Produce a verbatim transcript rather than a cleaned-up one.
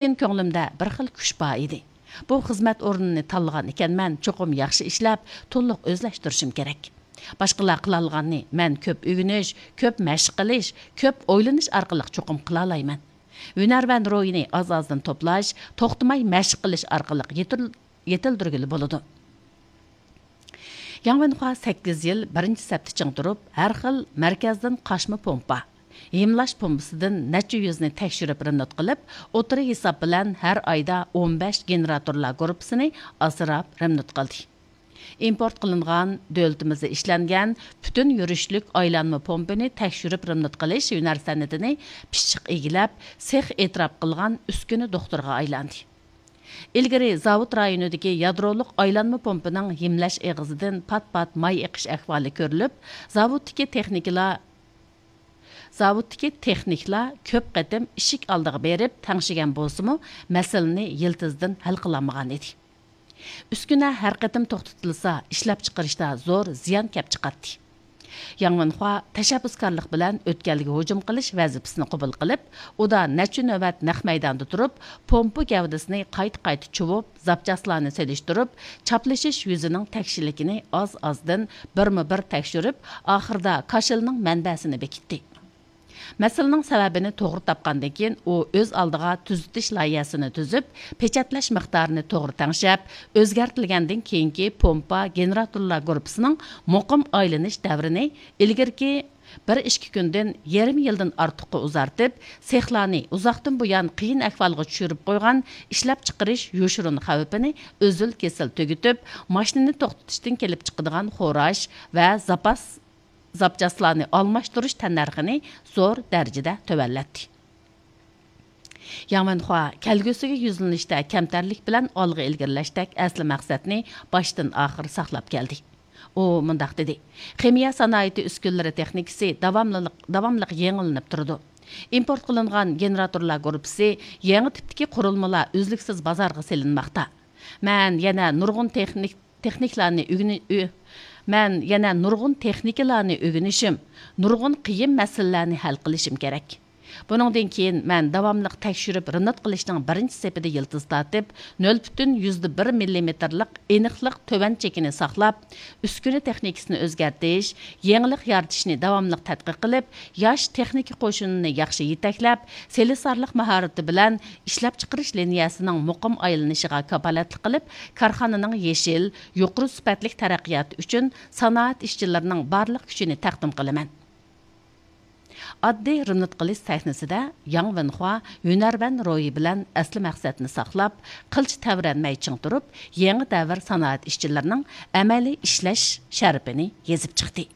لېكىن كۆڭلۈمدە بىر خىل كۈچ بار ئىدى. بۇ خىزمەت ئورنىنى تاللىغان ئىكەنمەن، چوقۇم ياخشى ئىشلەپ، تولۇق ئۆزلەشتۈرۈشۈم كېرەك. باشقىلار قىلالىغاننى مەن كۆپ ئۆگىنىش، كۆپ مەشىق قىلىش، كۆپ ئويلىنىش ئارقىلىق چوقۇم قىلالايمەن. ھۈنەرۋەن روھىنى ئاز-ئازدىن توپلاش، توختىماي مەشىق قىلىش ئارقىلىق يېتىل-، يېتىلدۈرگىلى بولىدۇ. ياڭ ۋېنخۇا سەككىز يىل بىرىنچى سەپتە چىڭ تۇرۇپ، ھەر خىل مەركەزدىن قاچما پومپا، ھىملاش پومپىسىدىن نەچچە يۈزنى تەكشۈرۈپ رېمونت قىلىپ، ئوتتۇرا ھېساب بىلەن ھەر ئايدا ئون بەش گېنېراتورلار گۇرۇپپىسىنى ئاسراپ رېمونت قىلدى. ئىمپورت قىلىنغان، دۆلىتىمىزدە ئىشلەنگەن پۈتۈن يۈرۈشلۈك ئايلانما پومپىنى تەكشۈرۈپ رېمونت قىلىش ھۈنەر سەنئىتىنى پىششىق ئىگىلەپ، سېخ ئېتىراپ قىلغان ئۈسكۈنە دوختۇرىغا ئايلاندى. ئىلگىرى زاۋۇت رايونىدىكى يادرولۇق ئايلانما پومپىنىڭ ھىملەش ئېغىزىدىن پات-پات ماي ئېقىش ئەھۋالى كۆرۈلۈپ، زاۋۇتتىكى تېخنىكلار، زاۋۇتتىكى تېخنىكلار كۆپ قېتىم ئىشىك ئالدىغا بېرىپ تەڭشىگەن بولسىمۇ، مەسىلىنى يىلتىزىدىن ھەل قىلالمىغان ئىدى. ئۈسكۈنە ھەر قېتىم توختىتىلسا، ئىشلەپچىقىرىشتا زور زىيان كەپ چىقاتتى. ياڭ ۋېنخۇا تەشەببۇسكارلىق بىلەن ئۆتكەلگە ھۇجۇم قىلىش ۋەزىپىسىنى قوبۇل قىلىپ، ئۇدا نەچچە نۆۋەت نەق مەيداندا تۇرۇپ، پومپا گەۋدىسىنى قايتا-قايتا چۇۋۇپ، زاپچاسلارنى سېلىشتۇرۇپ، چاپلىشىش يۈزىنىڭ تەكشىلىكىنى ئاز-ئازدىن بىرمۇ بىر تەكشۈرۈپ، ئاخىرىدا كاشىلنىڭ مەنبەسىنى بېكىتتى. مەسىلىنىڭ سەۋەبىنى توغرا تاپقاندىن كېيىن، ئۇ ئۆز ئالدىغا تۈزىتىش لايىھەسىنى تۈزۈپ، پېچەتلەش مىقدارىنى توغرا تەڭشەپ، ئۆزگەرتىلگەندىن كېيىنكى پومپا گېنېراتورلار گۇرۇپپىسىنىڭ مۇقىم ئايلىنىش دەۋرىنى ئىلگىرىكى بىر ئىككى كۈندىن يېرىم يىلدىن ئارتۇققا ئۇزارتىپ، سېخلارنى ئۇزاقتىن بۇيان قىيىن ئەھۋالغا چۈشۈرۈپ قويغان ئىشلەپچىقىرىش يوشۇرۇن خەۋپىنى ئۈزۈل-كېسىل تۈگىتىپ، ماشىنىنى توختىتىشتىن كېلىپ چىقىدىغان خوراش ۋە زاپاس زاپچاسلارنى ئالماشتۇرۇش تەننەرخىنى زور دەرىجىدە تۆۋەنلەتتى. ياڭ ۋېنخۇا كەلگۈسىگە يۈزلىنىشتە كەمتەرلىك بىلەن ئالغا ئىلگىرىلەشتەك ئەسلى مەقسەتنى باشتىن ئاخىر ساقلاپ كەلدى. ئۇ مۇنداق دېدى: خىمىيە سانائىتى ئۈسكۈنىلىرى تېخنىكىسى داۋاملىق، داۋاملىق يېڭىلىنىپ تۇرىدۇ. ئىمپورت قىلىنغان گېنېراتورلار گۇرۇپپىسى، يېڭى تىپتىكى قۇرۇلمىلار ئۈزلۈكسىز بازارغا سېلىنماقتا. مەن يەنە نۇرغۇن تېخنىك تېخنىكلارنى ئۆگىنى-، ئۆ-، مەن يەنە نۇرغۇن تېخنىكىلارنى ئۆگىنىشىم، نۇرغۇن قىيىن مەسىلىلەرنى ھەل قىلىشىم كېرەك. بۇنىڭدىن كېيىن مەن داۋاملىق تەكشۈرۈپ رېمونت قىلىشنىڭ بىرىنچى سېپىدە يىلتىز تارتىپ، نۆل پۈتۈن يۈزدە بىر مىللىمېتىرلىق ئېنىقلىق تۆۋەن چېكىنى ساقلاپ، ئۈسكۈنە تېخنىكىسىنى ئۆزگەرتىش، يېڭىلىق يارىتىشنى داۋاملىق تەتقىق قىلىپ، ياش تېخنىكا قوشۇنىنى ياخشى يېتەكلەپ، سېلىسارلىق ماھارىتى بىلەن ئىشلەپچىقىرىش لىنىيەسىنىڭ مۇقىم ئايلىنىشىغا كاپالەتلىك قىلىپ، كارخانىنىڭ يېشىل، يۇقىرى سۈپەتلىك تەرەققىياتى ئۈچۈن سانائەت ئىشچىلىرىنىڭ بارلىق كۈچىنى تەقدىم قىلىمەن. ئاددىي رېمونت قىلىش سەھنىسىدە ياڭ ۋېنخۇا ھۈنەرۋەن روھى بىلەن ئەسلى مەقسەتنى ساقلاپ، قىلچە تەۋرەنمەي چىڭ تۇرۇپ، يېڭى دەۋر سانائەت ئىشچىلىرىنىڭ ئەمەلىي ئىشلەش شەرىپىنى يېزىپ چىقتى.